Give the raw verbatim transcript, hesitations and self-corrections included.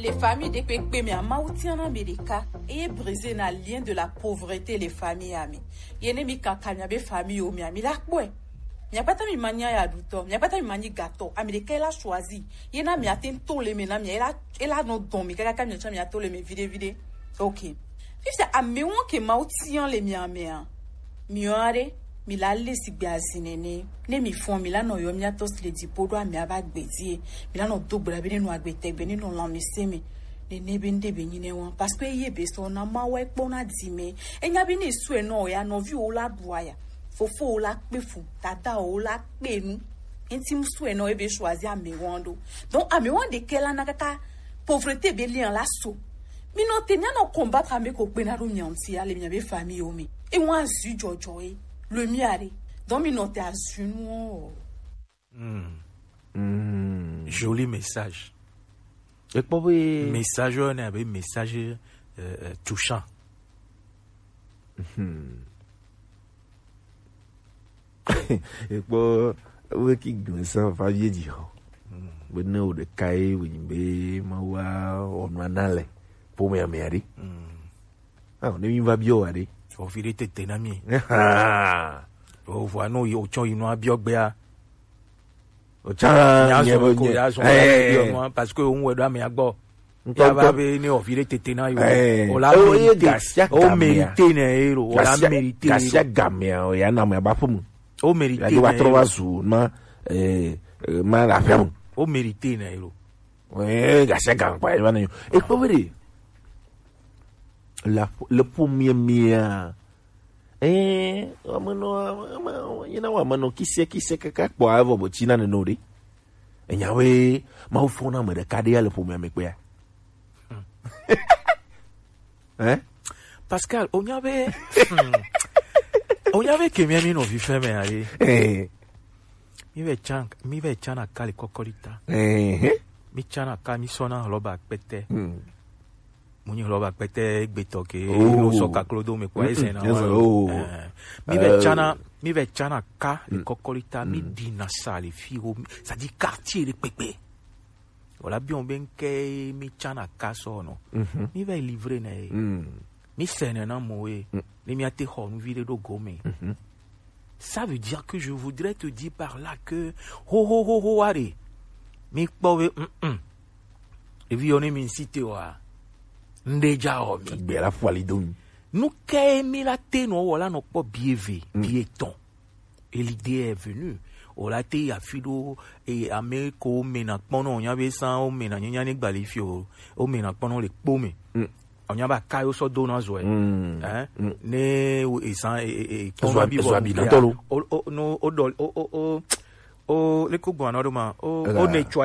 Le famille ɖekpekpe mea, Mawu tia na mi ɖeka. Eye brisé na lien de la pauvreté le famille ami. Ye ne mi kaka mia be famille o mia, mi la kpɔe. Mia kpata mi ma nya ya ɖutɔ, mia kpata mi ma nyi gatɔ. Ami ɖeka la choisi. Ye na mia te to le me na mia, ela ela nɔ dɔn mi kaka mia cha mia to le me vide vide. Ok. Fifia amewo ke Mawu tia le mia mea. Miɔ aɖe, mi la le sigbe azi nene. Ne mi fɔn, mi la nɔ yɔ mia tɔ si le dziƒo ɖo amea va gbe die. Mi la nɔ do gbe ɖa be ne nɔ agbe tɛgbe, ne nɔ lãmesẽ me. Nene be ŋɖe be nyi ne wa. Parce que ye be sɔ na ma wa kpɔ na di me. Enya be ne sue nɔ ya nɔvi wo la ɖu aya. Fofo wo la kpe fu, dada wo la kpe nu. Enti mu sue nɔ ebe choisi amewo ɖo. Donc amewo ɖekɛ la na kaka pauvreté be lien la so. Mi nɔ te mia nɔ combattre ame ko kpe na ɖo mia ŋuti ale mia be famille wo me. E wa azu jɔjɔ e. Le mia ɖe. Donc mi nɔ te azu nu o. Joli message. Ekpɔ be message ne abe message euh, euh, touchant. Ekpɔ be ki gblẽ sa va vie dzi xɔ. Be ne wo ɖeka ye wònyi be mawu awɔ nua na le ƒomea mea ɖe. Ah, ne mi va biɔ wa ɖe. Ovi ɖe tete na mi. Ovua no yi otsɔ yi nua biɔ gbea. Otsã nye be nye. Parce que on wɛ do amea gbɔ. Ya va be ne ovi ɖe tete na yo. O la mérité. O mérité ne ero. O la mérité. Gasia gamea o ya na me ba ƒe mu. O mérité. Ya va trɔ va zu ma eh ma la fia mu. O mérité ne ero. Eh gasia gam pa ya na yo. E ko be de. La le ƒomea mea. Ɛɛ, amenɔ yina wa amenɔ kisiɛ kisiɛ kaka kpɔ avɔ bɔ tsi na nene o ɖe. Enya be mawu fɔ na ame ɖeka ɖe ya le ƒomea me kpea. Hein? Pascal, onya be hmm, onya be kemia mi nɔ vi fɛn me aye. Eh. Mi ve chan mi ve chan akali kɔkɔli ta. Eh. Mi chan akali mi sɔna lɔba kpɛtɛ. Hmm. Mo nyi hlɔba kpɛtɛ gbetɔ ke no sɔ kaklo do me kua ese na wa. Mi ve tsana mi ve tsana ka le kɔkɔli ta mi di na sa le fi ho sa di quartier le kpekpe. Wala biɔn be nke mi tsana ka sɔ no. Mi ve livre na ye. Mi sene na mo ye. Ni mi ate xɔ nu vi ɖe ɖo gome. Ça veut dire que je voudrais te dire par là que ho ho ho ho are. Mi kpɔ be mm mm. Evi yɔ ne mi ŋsi te wa. Ŋɖe dza wɔ mi. Gbe la fɔ ali do mi. Nu kae mi la te nɔ wɔ la nɔ kpɔ bi eve bi etɔn? Et l'idée est venue. O la te yi afi ɖo e ame ko mena kpɔnɔ o nya be san o mena nyanya ne gbali fi o o mena kpɔnɔ le kpo me. O nya ba ka yo sɔ do na zɔ ɛ. Ɛn ne e san e e e kpɔnɔ bi bɔ o o no o dɔ o o o o le ko gbɔn anɔ ɖo ma o o ne tsɔ